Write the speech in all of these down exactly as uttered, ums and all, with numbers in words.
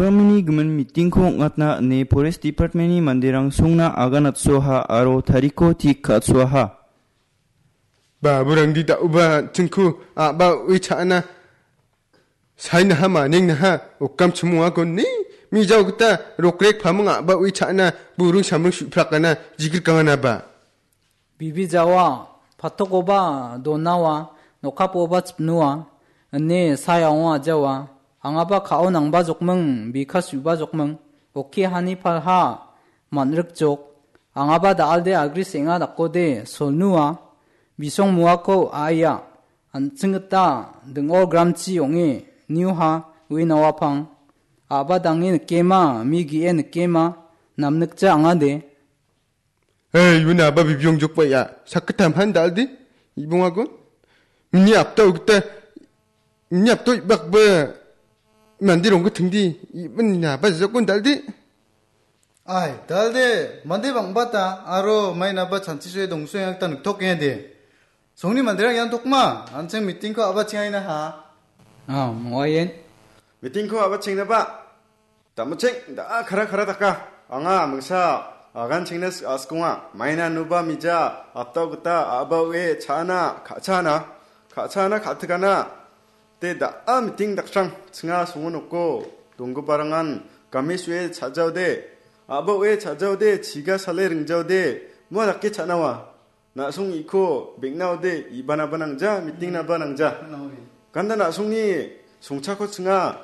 Department-ni gimin meeting-ko ong·atna ine Forest Department-ni manderang songna aganatsoaha aro tarikko tik ka·atsoaha. Baburangdi da·oba an·chingko a·ba o·e cha·ana sainaha manengnaha okam chimongakon ni mijao gita rokrek paming a·ba o·e cha·ana buring samring su·prakana jigrikanganaba. Bibi jawa, patokoba donawa, nokapoba chipnoa, ine sayaonga ajawa, angaba ka·o nangba jokming, bika su·ba jokming, oke hani palha, man·rikjok, angaba da·alde agri seng·a dakode, solnua, bisong muako a·ia, an·ching gita, ding·o gramchi ong·e, niuha, uinawapang, a·ba dange nikema, mi ge·e nikema, namnikja angade. Hei, iuni a·ba bibiong jokba ia. Sakgittam han dal·de. Ibongagon. Mini apta ogita. Mini apta ibakba. Mandi rongga tingdi. Ibon ina a·ba jokon dal·de. Ai, dal·de. Mande bang·bata. Aro mainaba chanchi soe dongsoe akta niktok de. Songni manderang ian tokma. An·ching meeting-ko a·ba chingaina ha. Ah, moaien. Meeting-ko a·ba chingnaba. Damcheng, da·a kara kara daka. Anga mingsa agan chengna siaskonga. Maina nuba mija, aptao gita, a·ba o·e, cha·ana, ka·chaana, ka·chaana, ka·tikana. Te da·a meeting daksrang, chinga songo noko, donggiparangan, game su·e cha·jaode, a·ba o·e cha·jaode, chiga sale ringjaode, mua dake cha·nawa. Na·song iko beng·naode ibanaba nangja, meeting-naba nangja. Ganda na·songni songchako chinga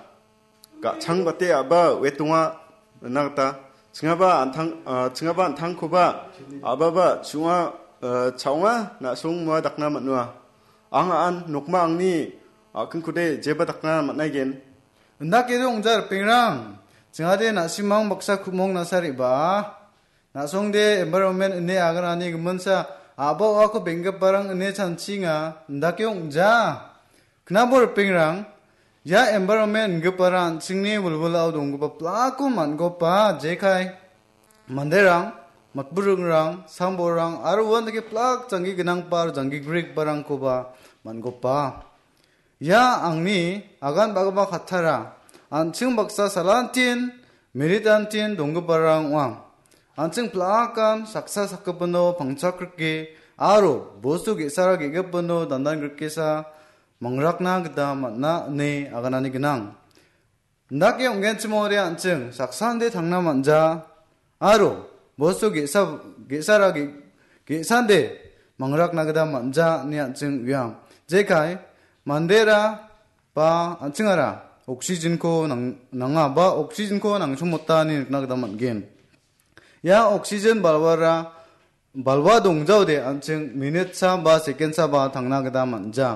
ga·chang bate a·ba wetonga ina gita. Chingaba an·tang, ah, chingaba an·tangkoba a·baba chu·onga, ah, cha·onga na·song mua dakna man·oa. Ang an nokma angni a·kingkode jeba dakna man·aigen. Indake ong·ja ripengrang, chingade na·simang baksa ku·mong nasa re·baa. Na·songde environment ine aganani giminsa a·ba o·ako benggiparang ine chanchinga, indake ong·ja. Knabo ripengrang, ia environment ingipara an·chingni wilwilao donggipa plako man·gopa jekai manderang, matburingrang, sambolrang aro uandake plak janggi gnangpa aro janggi grigiparangkoba man·gopa. Ia angni agan ba·gipa kattara, an·ching baksa salantin, meritantin donggiparang ong·a. An·ching plakan saksa sakgipino pangchakrike aro bostu ge·sara ge·gipino dandan grikesa mangrakna gita man·a ine aganani gnang. Indake ong·genchim ong·ode an·ching saksande tangna man·ja aro bostu ge·sa, ge·sara ge-, ge·sande mangrakna gita man·ja ine an·ching uiam. Jekai mandera ba an·chingara oxygen-ko nang-, nanga ba oxygen-ko nangchongmota ine nikna gita man·gen. Ia oxygen balwara balwa dongjaode an·ching minitsa ba sekendsa ba tangna gita man·ja.